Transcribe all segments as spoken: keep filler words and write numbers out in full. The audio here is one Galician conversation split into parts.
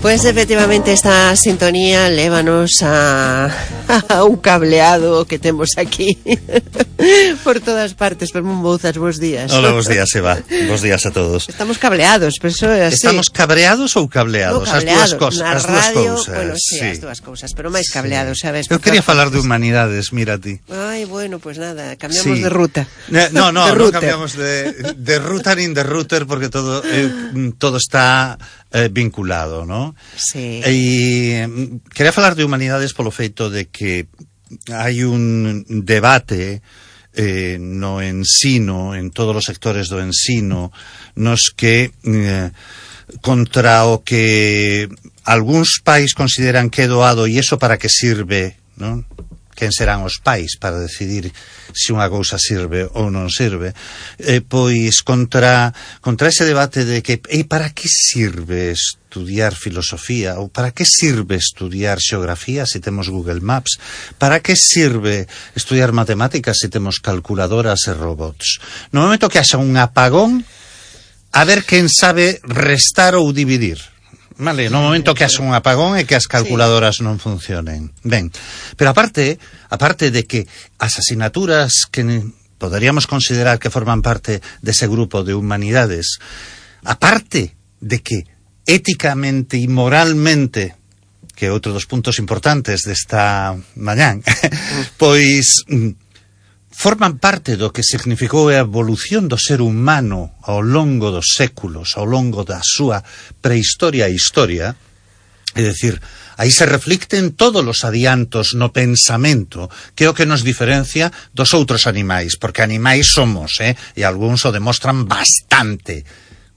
Pues efectivamente esta sintonía lévanos a, a un cableado que temos aquí por todas partes. Pero Mouzas, bons días. Hola, bons días, Eva. Bons días a todos. Estamos cableados, pero eso é así. Estamos cabreados ou cableados? No, cableados. As dúas cosas. Na as radio, dúas cousas. bueno, sí, sí, as dúas cousas, pero máis cableados, sí. sabes? Eu quería falar de humanidades, mira ti. Ai, bueno, pues nada, cambiamos sí. de ruta. No, no, de no cambiamos de, de ruta nin de router porque todo eh, todo está eh, vinculado, ¿no? Sí. E quería falar de humanidades polo feito de que hai un debate eh, no ensino, en todos os sectores do ensino, nos que eh, contra o que algúns pais consideran que é doado e iso para que sirve, non? Quen serán os pais para decidir se unha cousa sirve ou non sirve, eh, pois contra contra ese debate de que e para que sirve estudiar filosofía ou para que sirve estudiar xeografía se temos Google Maps, para que sirve estudiar matemáticas se temos calculadoras e robots. No momento que haxa un apagón, a ver quen sabe restar ou dividir. Vale, no momento que haxa un apagón e que as calculadoras sí. non funcionen. Ben, pero aparte, aparte de que as asignaturas que poderíamos considerar que forman parte dese grupo de humanidades, aparte de que éticamente e moralmente, que é outro dos puntos importantes desta mañán, pois forman parte do que significou a evolución do ser humano ao longo dos séculos, ao longo da súa prehistoria e historia, é dicir, aí se reflicten todos os adiantos no pensamento, que é o que nos diferencia dos outros animais, porque animais somos, eh? E algúns o demostran bastante.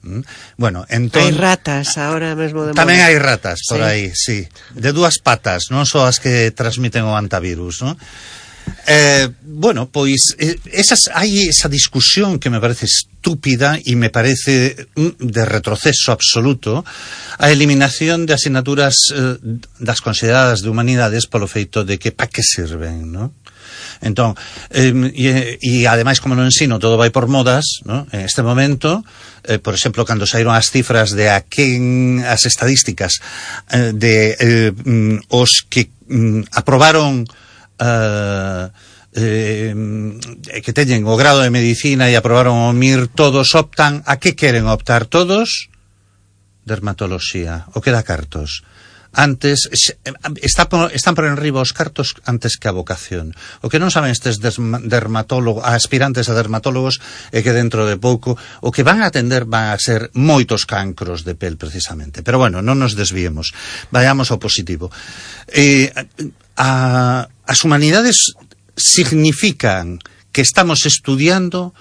¿Mm? Bueno, entón... Hai ratas, ahora mesmo de Tamén moda. hai ratas por sí. aí, sí. De dúas patas, non só as que transmiten o antivirus, non? Eh, bueno, pois eh, esas, hai esa discusión que me parece estúpida e me parece mm, de retroceso absoluto a eliminación de asignaturas eh, das consideradas de humanidades polo feito de que pa que sirven, non? Entón, eh, e, e ademais como no ensino todo vai por modas, ¿no? En este momento, eh, por exemplo, cando saíron as cifras de a quen as estadísticas eh, de eh, mm, os que mm, aprobaron Uh, eh, que teñen o grado de medicina e aprobaron o M I R, todos optan a que queren optar todos? Dermatoloxía, o que dá cartos. Antes, está por, están por enriba os cartos antes que a vocación. O que non saben estes dermatólogos, aspirantes a dermatólogos, é que dentro de pouco o que van a atender van a ser moitos cancros de pel, precisamente. Pero bueno, non nos desviemos. Vayamos ao positivo. Eh, a, as humanidades significan que estamos estudiando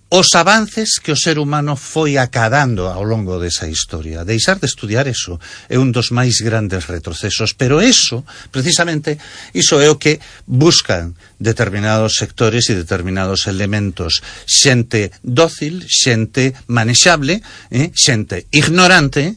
os avances que o ser humano foi acadando ao longo desa historia. Deixar de estudiar eso é un dos máis grandes retrocesos, pero eso, precisamente, iso é o que buscan determinados sectores e determinados elementos. Xente dócil, xente manexable, eh? xente ignorante, eh?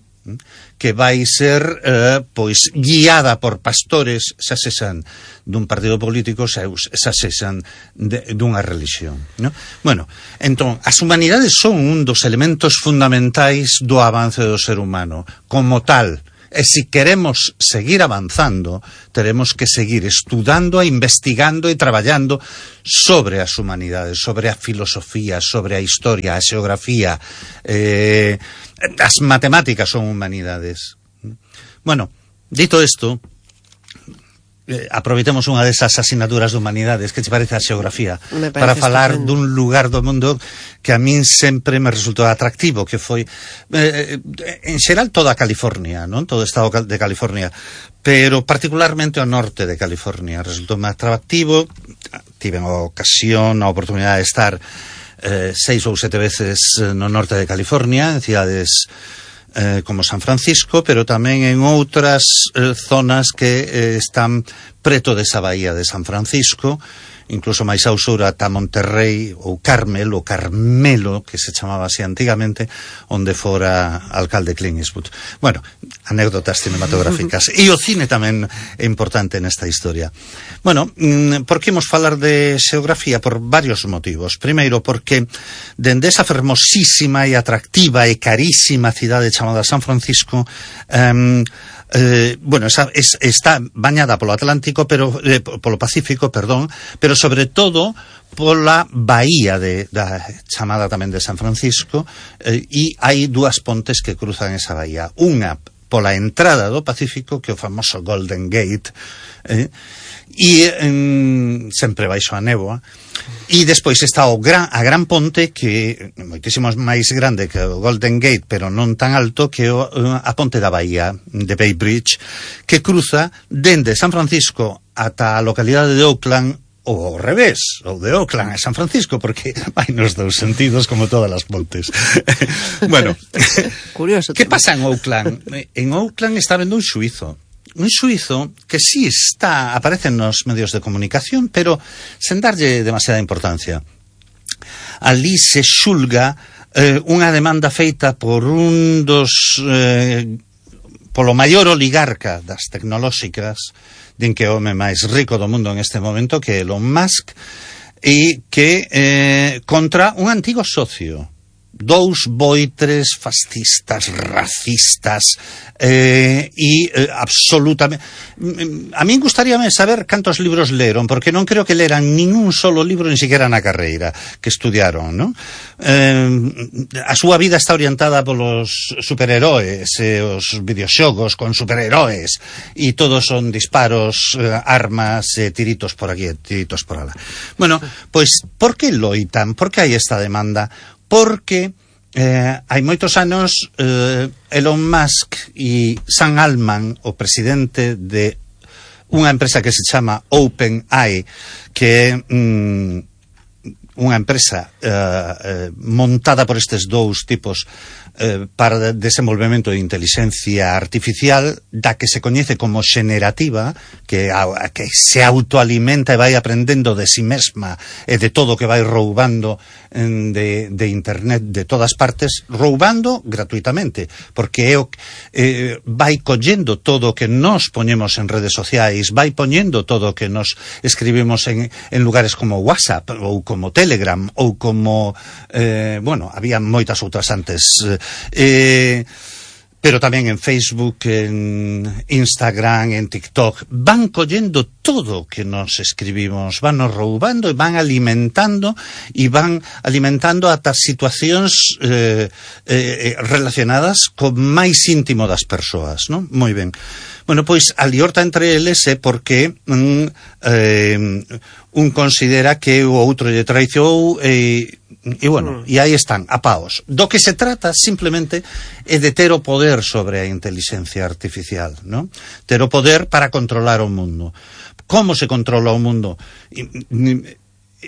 que vai ser eh, pois guiada por pastores, xa sexan dun partido político, xa sexan de, dunha religión, ¿no? Bueno, entón, as humanidades son un dos elementos fundamentais do avance do ser humano, como tal. E se queremos seguir avanzando, teremos que seguir estudando, investigando e traballando sobre as humanidades, sobre a filosofía, sobre a historia, a xeografía, eh, as matemáticas son humanidades. Bueno, dito isto, eh, aproveitemos unha desas asignaturas de humanidades, que te parece a xeografía, para falar estupendo. Dun lugar do mundo que a min sempre me resultou atractivo, que foi eh, en xeral toda a California, non? Todo o estado de California, pero particularmente o norte de California resultou máis atractivo. Tiven a ocasión, a oportunidade de estar eh, seis ou sete veces no norte de California, en cidades eh, como San Francisco, pero tamén en outras eh, zonas que eh, están preto desa bahía de San Francisco, incluso máis ao sur ata Monterrey ou Carmel, ou Carmelo, que se chamaba así antigamente, onde fora alcalde Clint Eastwood. Bueno, anécdotas cinematográficas. E o cine tamén é importante nesta historia. Bueno, por que imos falar de xeografía? Por varios motivos. Primeiro, porque dende esa fermosísima e atractiva e carísima cidade chamada San Francisco, um, Eh, bueno, esa, es, está bañada polo Atlántico, pero eh, polo Pacífico, perdón, pero sobre todo pola bahía de, da chamada tamén de San Francisco, eh, e hai dúas pontes que cruzan esa bahía. Unha pola entrada do Pacífico, que é o famoso Golden Gate, eh, e eh, sempre baixo a néboa. E despois está o gran, a gran ponte, que é moitísimo máis grande que o Golden Gate, pero non tan alto, que o, a ponte da bahía de Bay Bridge, que cruza dende San Francisco ata a localidade de Oakland, ou ao revés, ou de Oakland a San Francisco, porque vai nos dous sentidos como todas as pontes. Bueno, curioso. Que pasa en Oakland? En Oakland está vendo un xuízo. Un xuízo que sí está, aparece nos medios de comunicación, pero sen darlle demasiada importancia. Ali se xulga eh, unha demanda feita por un dos eh, polo maior oligarca das tecnolóxicas, din que é o home máis rico do mundo en este momento, que é Elon Musk, e que eh, contra un antigo socio. Dous boitres fascistas, racistas, eh, e eh, absolutamente... A min gustaríame saber cantos libros leron, porque non creo que leran ningún solo libro, ni siquiera na carreira que estudiaron, non? Eh, a súa vida está orientada polos superheróis, e os videoxogos con superheróis, e todos son disparos, eh, armas, e tiritos por aquí, e tiritos por alá. Bueno, pois, por que loitan? Por que hai esta demanda? Porque eh, hai moitos anos eh, Elon Musk e Sam Altman, o presidente de unha empresa que se chama OpenAI, que é mm, unha empresa eh, eh, montada por estes dous tipos eh, para desenvolvemento de inteligencia artificial, da que se coñece como xenerativa, que, a, que se autoalimenta e vai aprendendo de si mesma e de todo que vai roubando en, de, de internet de todas partes, roubando gratuitamente, porque é o, eh, vai collendo todo o que nos poñemos en redes sociais, vai poñendo todo o que nos escribimos en, en lugares como WhatsApp ou como Telegram ou como eh, bueno, había moitas outras antes, eh, pero tamén en Facebook, en Instagram, en TikTok, van collendo todo o que nos escribimos, van nos roubando e van alimentando e van alimentando ata situacións eh, eh, relacionadas co máis íntimo das persoas, non? Moi ben. Bueno, pois a liorta entre eles é porque mm, eh, un considera que o outro lle traicionou e, e bueno, e aí están, a paos. Do que se trata simplemente é de ter o poder sobre a inteligencia artificial, non? Ter o poder para controlar o mundo. Como se controla o mundo?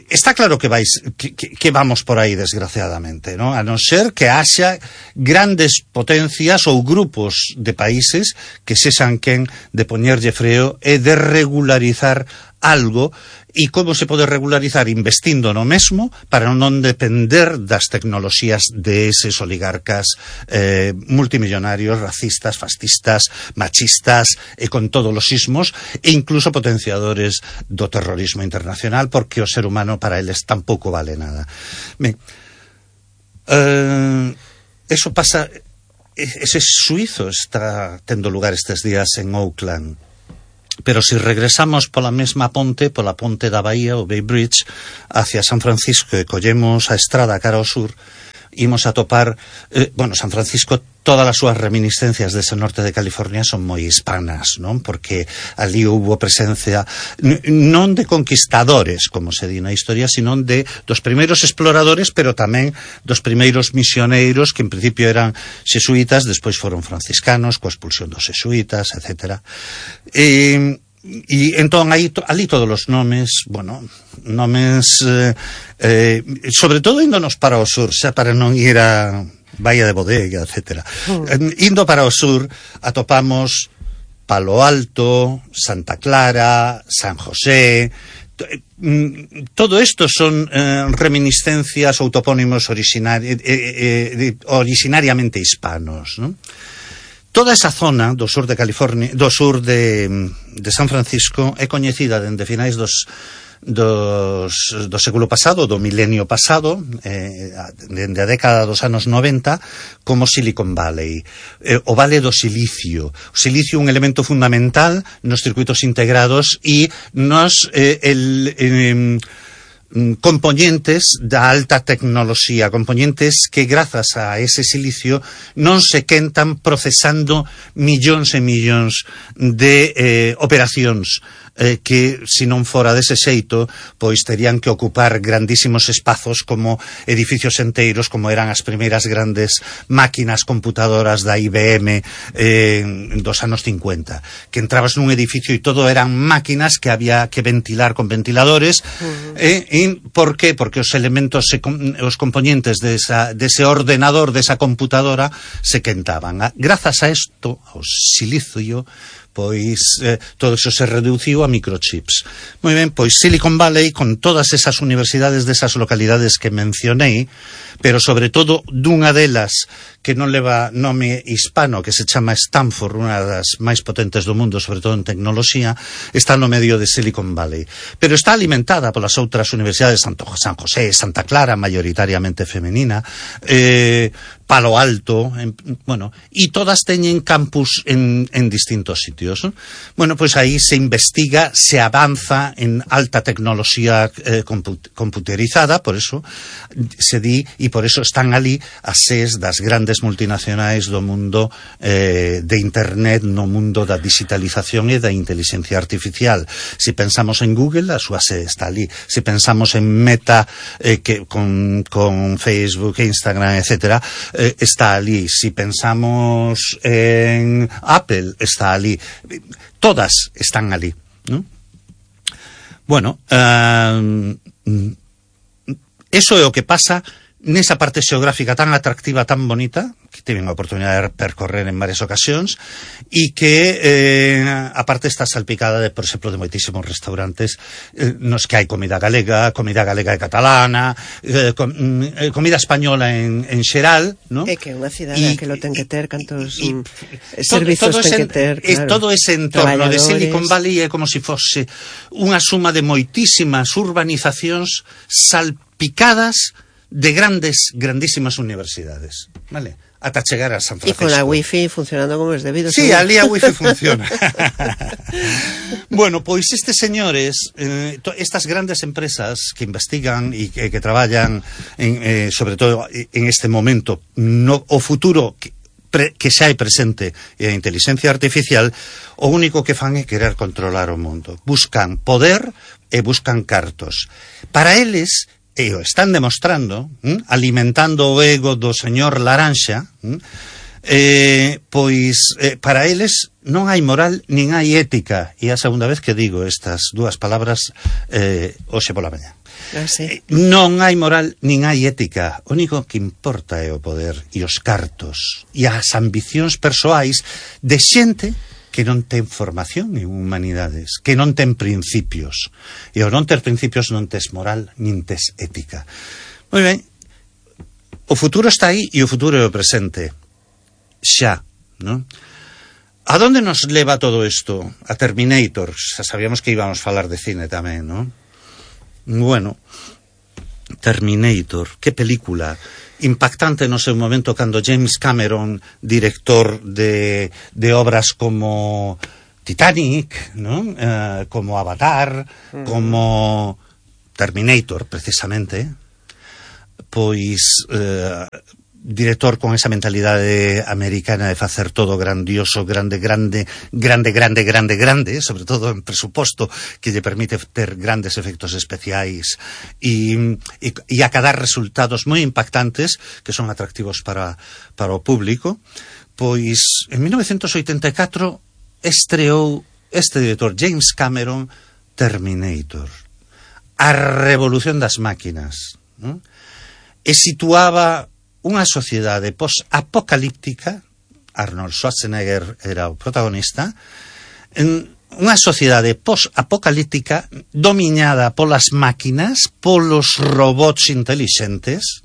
Está claro que vais que, que vamos por aí, desgraciadamente, ¿no? A non ser que haxa grandes potencias ou grupos de países que sexan quen de poñerlle freo e de regularizar algo. E como se pode regularizar? Investindo no mesmo para non depender das tecnoloxías de eses oligarcas eh, multimillonarios, racistas, fascistas, machistas e con todos os sismos, e incluso potenciadores do terrorismo internacional, porque o ser humano para eles tampouco vale nada. Ben, eh, eso pasa, ese suizo está tendo lugar estes días en Oakland. Pero si regresamos pola mesma ponte, pola ponte da Bahía, o Bay Bridge, hacia San Francisco, e collemos a estrada cara ao sur, imos a topar, eh, bueno, San Francisco, todas as súas reminiscencias dese norte de California son moi hispanas, non? Porque ali houbo presencia non de conquistadores, como se di na historia, sino de dos primeiros exploradores, pero tamén dos primeiros misioneiros, que en principio eran xesuítas, despois foron franciscanos, coa expulsión dos xesuítas, etcétera. E E entón aí, ali todos os nomes, bueno, nomes eh, eh, sobre todo índonos para o sur, xa para non ir a Bahía de Bodega, etcétera. Mm. Indo para o sur atopamos Palo Alto, Santa Clara, San José, todo esto son eh, reminiscencias ou topónimos originari eh, eh, originariamente hispanos, ¿no? Toda esa zona do sur de California, do sur de, de San Francisco é coñecida dende finais dos Dos, do século pasado, do milenio pasado, eh, dende a década dos anos noventa, como Silicon Valley, eh, o Vale do Silicio. O silicio é un elemento fundamental nos circuitos integrados e nos eh, el, eh, componentes da alta tecnoloxía, componentes que grazas a ese silicio non se quentan procesando millóns e millóns de eh, operacións eh, que, se non fora dese xeito, pois terían que ocupar grandísimos espazos como edificios enteiros, como eran as primeiras grandes máquinas computadoras da I B M eh, dos anos cincuenta, que entrabas nun edificio e todo eran máquinas que había que ventilar con ventiladores. Uh-huh. eh, e por qué? Porque os elementos, se, os componentes desa, dese ordenador, desa computadora, se quentaban. Grazas a isto, ao silicio, pois eh, todo iso se reduciu a microchips. Moi ben, pois Silicon Valley, con todas esas universidades desas localidades que mencionei, pero sobre todo dunha delas que non leva nome hispano, que se chama Stanford, unha das máis potentes do mundo, sobre todo en tecnoloxía, está no medio de Silicon Valley. Pero está alimentada polas outras universidades, San José, Santa Clara, mayoritariamente femenina, eh, Palo Alto, en, bueno, e todas teñen campus en, en distintos sitios, ¿no? Bueno, pois aí se investiga, se avanza en alta tecnoloxía eh, comput computerizada, por eso se di, e por eso están ali as seis das grandes multinacionais do mundo eh, de Internet, no mundo da digitalización e da inteligencia artificial. Si pensamos en Google, a súa sede está ali. Si pensamos en Meta, eh, que con, con Facebook, Instagram, etcétera, eh, está ali. Si pensamos en Apple, está ali. Todas están ali, ¿no? Bueno, uh, eso é o que pasa nesa parte xeográfica tan atractiva, tan bonita, que tiven a oportunidade de percorrer en varias ocasións, e que eh, a parte está salpicada de, por exemplo, de moitísimos restaurantes eh, nos que hai comida galega, comida galega e catalana, eh, com, eh, comida española en, en xeral, ¿no? É que é unha cidade que lo ten que ter, cantos y, y, servizos todo, todo ten que ter, claro. Todo ese entorno de Silicon Valley é como se si fose unha suma de moitísimas urbanizacións salpicadas de grandes, grandísimas universidades, ¿vale? Ata chegar a San Francisco. Y con la wifi funcionando como es debido. Sí, ali a wifi funciona. Bueno, pois estes señores, eh, estas grandes empresas que investigan e que, que traballan, en, eh, sobre todo en este momento, no, o futuro que, pre, que xa hai presente e a inteligencia artificial, o único que fan é querer controlar o mundo. Buscan poder e buscan cartos. Para eles, e o están demostrando, ¿m? alimentando o ego do señor Laranxa, ¿m? eh, pois eh, para eles non hai moral nin hai ética, e a segunda vez que digo estas dúas palabras eh, hoxe pola mañá. Ah, sí. eh, non hai moral nin hai ética, o único que importa é o poder e os cartos e as ambicións persoais de xente que non ten formación en humanidades, que non ten principios. E ao non ter principios non tes moral, nin tes ética. Moi ben, o futuro está aí e o futuro é o presente. Xa, non? A donde nos leva todo isto? A Terminator. Xa sabíamos que íbamos a falar de cine tamén, non? Bueno, Terminator, que película impactante no seu momento cando James Cameron, director de, de obras como Titanic, ¿no? eh, como Avatar, uh-huh. como Terminator, precisamente, pois eh, director con esa mentalidade americana de facer todo grandioso, grande, grande, grande, grande, grande, grande, sobre todo en presuposto que lle permite ter grandes efectos especiais e, e, e acadar resultados moi impactantes que son atractivos para, para o público. Pois en mil novecientos oitenta e catro estreou este director James Cameron Terminator, a revolución das máquinas, ¿no? E situaba unha sociedade post-apocalíptica, Arnold Schwarzenegger era o protagonista, en, unha sociedade post-apocalíptica dominada polas máquinas, polos robots intelixentes.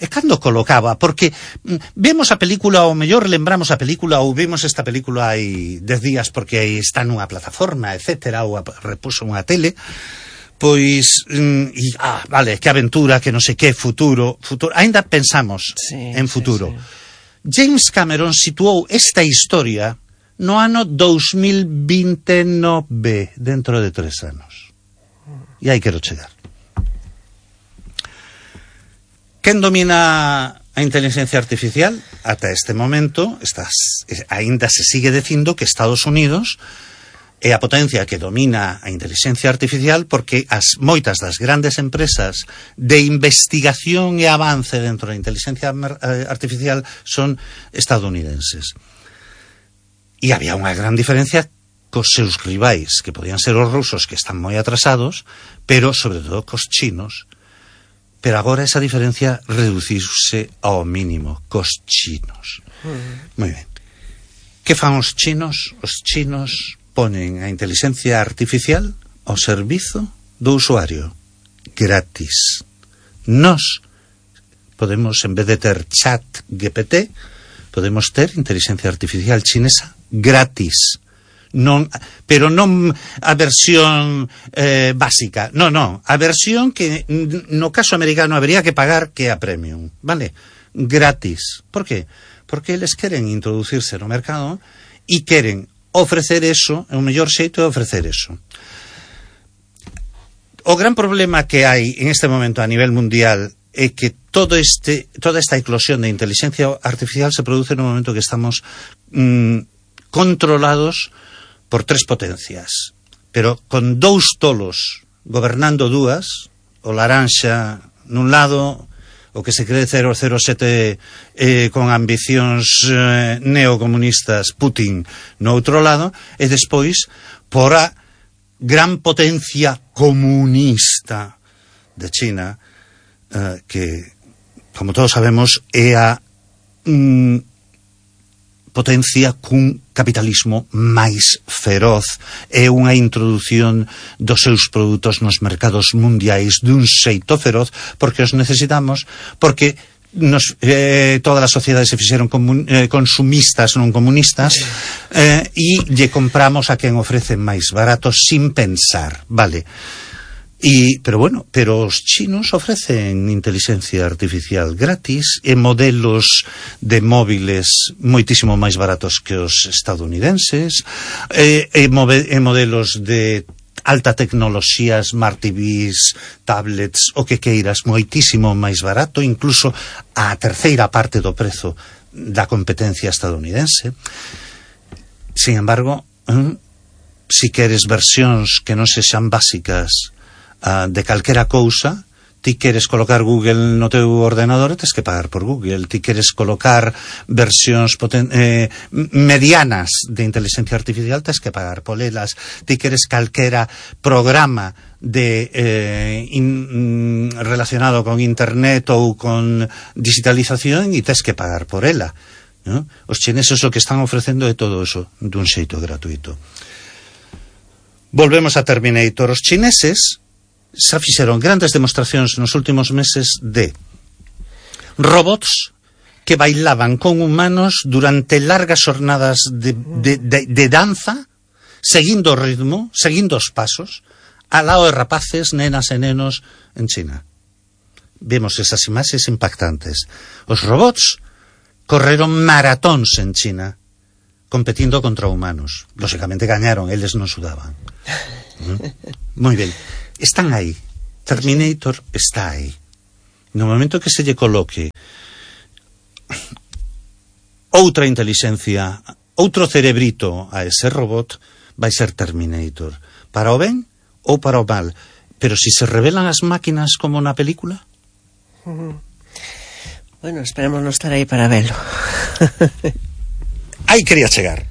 E cando colocaba, porque vemos a película, ou mellor lembramos a película, ou vimos esta película hai dez días porque aí está nunha plataforma, etcétera, ou a, repuso unha tele, pois, e, ah, vale, que aventura, que non sei que, futuro, futuro, ainda pensamos sí, en futuro. Sí, sí. James Cameron situou esta historia no ano dos mil veintinueve, dentro de tres anos. E aí quero chegar. Quen domina a inteligencia artificial? Ata este momento, estas, ainda se sigue dicindo que Estados Unidos é a potencia que domina a inteligencia artificial porque as moitas das grandes empresas de investigación e avance dentro da inteligencia artificial son estadounidenses. E había unha gran diferencia cos seus rivais, que podían ser os rusos, que están moi atrasados, pero sobre todo cos chinos. Pero agora esa diferencia reduciuse ao mínimo cos chinos. Mm. Moi ben. Que fan os chinos? Os chinos ponen a inteligencia artificial ao servizo do usuario, gratis. Nos podemos, en vez de ter chat G P T, podemos ter inteligencia artificial chinesa gratis. Non, pero non a versión eh, básica, non, non, a versión que no caso americano habría que pagar, que é a premium, vale? Gratis. Por qué? Porque eles queren introducirse no mercado e queren ofrecer eso, é o mellor xeito de ofrecer eso. O gran problema que hai en este momento a nivel mundial é que todo este, toda esta eclosión de inteligencia artificial se produce no momento que estamos mmm, controlados por tres potencias, pero con dous tolos gobernando dúas, o laranxa nun lado, o que se cree cero cero sete eh, con ambicións eh, neocomunistas, Putin, no outro lado, e despois por a gran potencia comunista de China, eh, que, como todos sabemos, é a mm, potencia cun capitalismo máis feroz, é unha introdución dos seus produtos nos mercados mundiais dun xeito feroz, porque os necesitamos, porque nos, eh, todas as sociedades se fixeron comun, eh, consumistas, non comunistas, eh, e lle compramos a quen ofrece máis barato sin pensar, vale? Y, pero bueno, pero os chinos ofrecen inteligencia artificial gratis e modelos de móviles moitísimo máis baratos que os estadounidenses, e, e, move, e modelos de alta tecnoloxía, smart T Vs, tablets, o que queiras, moitísimo máis barato, incluso a terceira parte do prezo da competencia estadounidense. Sin embargo, si queres versións que non sexan básicas Uh, de calquera cousa, ti queres colocar Google no teu ordenador e tes que pagar por Google. Ti queres colocar versións poten eh, medianas de inteligencia artificial, tes que pagar por elas. Ti queres calquera programa de eh, in, relacionado con internet ou con digitalización e tes que pagar por ela, ¿no? Os chineses o que están ofrecendo é todo eso dun xeito gratuito. Volvemos a Terminator. Os chineses xa fixeron grandes demostracións nos últimos meses de robots que bailaban con humanos durante largas jornadas de, de, de, de danza, seguindo o ritmo, seguindo os pasos, al lado de rapaces, nenas e nenos en China. Vemos esas imaxes impactantes. Os robots correron maratóns en China competindo contra humanos. Lógicamente gañaron, eles non sudaban. ¿Mm? Moi ben. Están aí. Terminator está aí. No momento que se lle coloque outra inteligencia, outro cerebrito a ese robot, vai ser Terminator. Para o ben ou para o mal. Pero si se revelan as máquinas como na película... Bueno, esperemos non estar aí para velo. Aí quería chegar.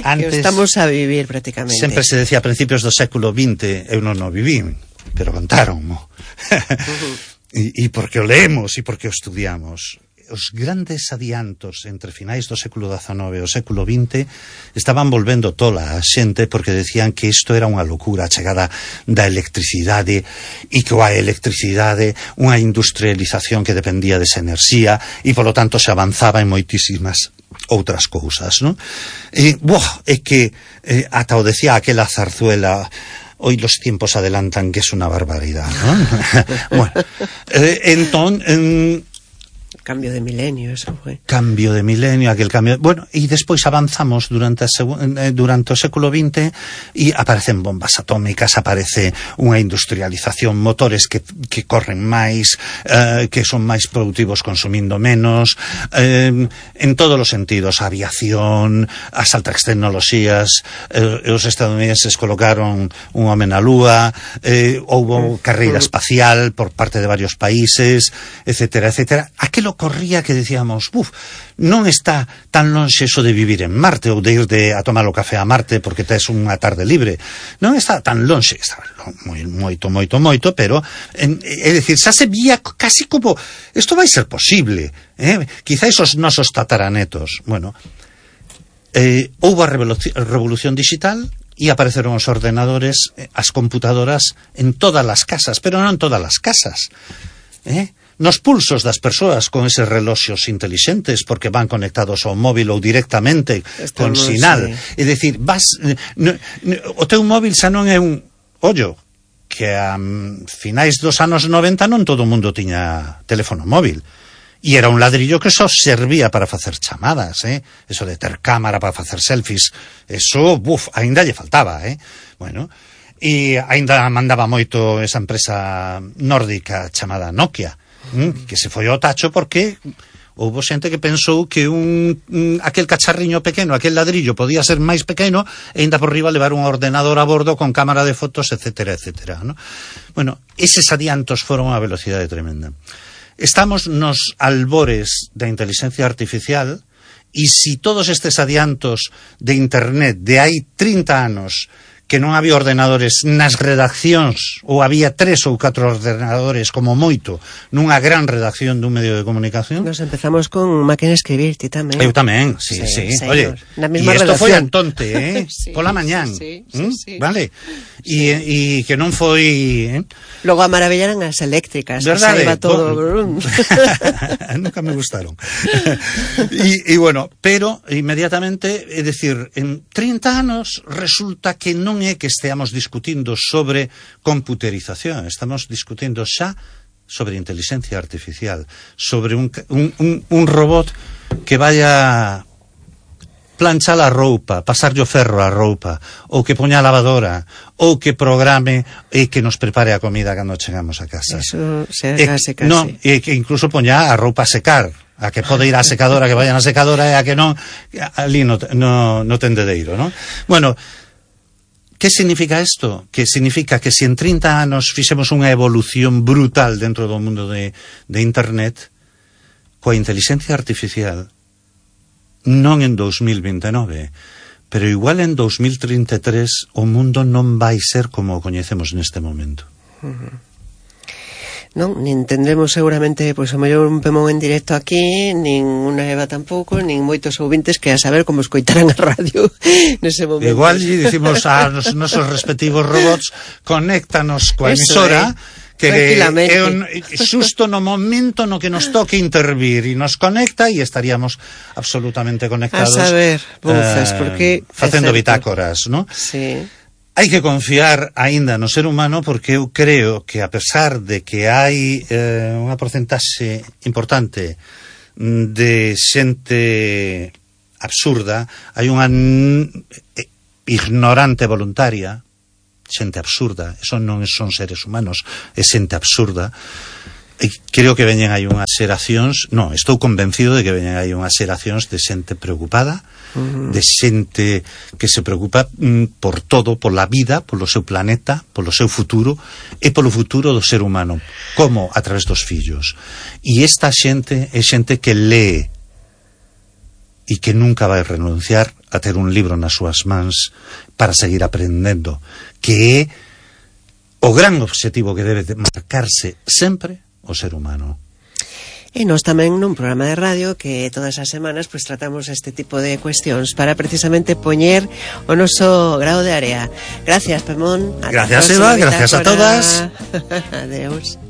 Antes, que estamos a vivir prácticamente. Sempre se decía a principios do século vinte, eu non o vivín, pero contáronmo. Uh-huh. e, e porque o leemos e porque o estudiamos. os grandes adiantos entre finais do século dezanove e o século vinte estaban volvendo tola a xente porque decían que isto era unha locura, a chegada da electricidade e que a electricidade unha industrialización que dependía desa enerxía e polo tanto se avanzaba en moitísimas outras cousas, non? E, buah, é que eh, ata o decía aquela zarzuela, hoy los tiempos adelantan, que es una barbaridad, ¿no? Bueno, eh, entón... Eh, cambio de milenio, eso foi. Cambio de milenio, aquel cambio... Bueno, e despois avanzamos durante, a segu... durante o século vinte e aparecen bombas atómicas, aparece unha industrialización, motores que, que corren máis, eh, que son máis productivos consumindo menos, eh, en todos os sentidos, a aviación, as altas tecnoloxías, eh, os estadounidenses colocaron un home na lúa, eh, houbo carreira espacial por parte de varios países, etcétera, etcétera. Aquelo corría que decíamos, uf, non está tan lonxe eso de vivir en Marte ou de ir de, a tomar o café a Marte porque tes unha tarde libre, non está tan lonxe, está moi, moito, moito, moito, pero en, é dicir, xa se vía casi como isto vai ser posible, eh? Quizá esos nosos tataranetos. Bueno, eh, houve a revolución, revolución digital e apareceron os ordenadores, as computadoras en todas as casas, pero non en todas as casas, eh? Nos pulsos das persoas con eses reloxos intelixentes porque van conectados ao móvil ou directamente Estamos, con sinal. Sí. É dicir, vas, no, no, o teu móvil xa non é un ollo que a um, finais dos anos noventa non todo o mundo tiña teléfono móvil. E era un ladrillo que só servía para facer chamadas, eh? Eso de ter cámara para facer selfies, eso, buf, ainda lle faltaba, eh? Bueno, e ainda mandaba moito esa empresa nórdica chamada Nokia, que se foi ao tacho porque houve xente que pensou que un, un aquel cacharriño pequeno, aquel ladrillo podía ser máis pequeno e ainda por riba levar un ordenador a bordo con cámara de fotos, etcétera, etcétera, ¿no? Bueno, eses adiantos foron a velocidade tremenda. Estamos nos albores da inteligencia artificial e si todos estes adiantos de internet de hai trinta anos que non había ordenadores nas redaccións, ou había tres ou catro ordenadores como moito nunha gran redacción dun medio de comunicación. Nos empezamos con máquina de escribir, ti tamén. Eu tamén, sí, sí. sí. Oye, e isto foi Antonte, eh? Sí, pola mañán, sí, sí, ¿Mm? sí. Vale? E sí. que non foi... Eh? Logo a maravillaran as eléctricas, verdade? Que todo... Bon... Nunca me gustaron. E bueno, pero inmediatamente, é dicir, en trinta anos resulta que non é que esteamos discutindo sobre computerización, estamos discutindo xa sobre inteligencia artificial, sobre un, un, un, un robot que vaya planchar a roupa, pasarlle o ferro a roupa, ou que poña a lavadora, ou que programe e que nos prepare a comida cando chegamos a casa. Eso se case, case. No, e que incluso poña a roupa a secar, a que pode ir á secadora, que vayan á secadora e a que non, ali no, no, no tendedeiro, non? Bueno, que significa isto? Que significa que se en trinta anos fixemos unha evolución brutal dentro do mundo de, de internet, coa inteligencia artificial, non en dos mil veintenove, pero igual en dos mil trinta e tres o mundo non vai ser como o coñecemos neste momento. Uh-huh. Non, nin tendremos seguramente pois a mellor un Pemón en directo aquí, nin unha Eva tampouco, nin moitos ouvintes que a saber como escoitarán a radio nese momento. Igual lle dicimos a nos nosos respectivos robots, conéctanos coa emisora, eh? Que é un, xusto no momento no que nos toque intervir e nos conecta e estaríamos absolutamente conectados. A saber, bufas, eh, porque facendo bitácoras, ¿no? Sí. Hai que confiar aínda no ser humano porque eu creo que a pesar de que hai eh, unha porcentaxe importante de xente absurda, hai unha ignorante voluntaria, xente absurda, eso non son seres humanos, é xente absurda. E creo que veñen aí unhas xeracións, non, estou convencido de que veñen aí unhas xeracións de xente preocupada, uh-huh. de xente que se preocupa mm, por todo, pola vida, polo seu planeta, polo seu futuro e polo futuro do ser humano, como a través dos fillos. E esta xente é xente que lee e que nunca vai renunciar a ter un libro nas súas mans para seguir aprendendo, que é o gran obxectivo que debe marcarse sempre o ser humano. E nós tamén nun programa de radio que todas as semanas pues tratamos este tipo de cuestións para precisamente poñer o noso grao de area. Gracias, Pemón. Gracias, Eva, gracias a todas. Adeus.